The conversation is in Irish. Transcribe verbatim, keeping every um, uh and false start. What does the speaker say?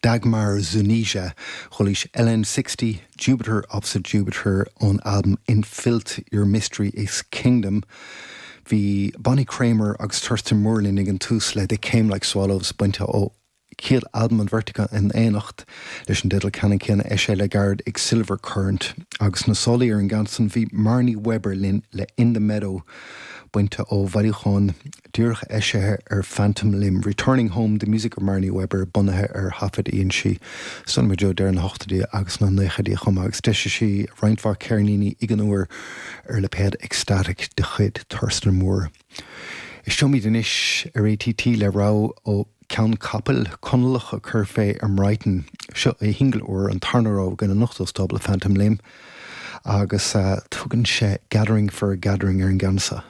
Dagmar Zuniga chualaís LN sixty Jupiter Opposite Jupiter ón albam In Filth Your Mystery is Kingdom. Bhí Bonnie Kramer agus Thurston Moore linn ag an tús le They Came Like Swallows bainte ó chéad albam an bheirt acu in éineacht leis an dteideal ceannann céanna eisithe le gairid ag Silver Current agus na solaí ar an gceann san bhí Marnie Weber linn le In the Meadow bainte ó bhailiúchán díreach eisithe ar Phantom Limb Returning Home the Music of Marnie Weber bunaithe ar thaifid a dhein sí san go deo deireadh na hochtóidí agus na naochaidí chomh maith agus d'eisigh sí roinnt mhaith ceirníní ag an uair ar lipéad Ecstatic de chuid Thurston Moore. Éisteoimid anois ar ATT le rogha ó Ceann Capaill Conallach a chuir fé i mBrighton. Seo é shingil úr an tarna rogha againn anocht ó stábla Phantom Limb agus uh, tugann sé Gathering for a Gathering ar an gceann seo.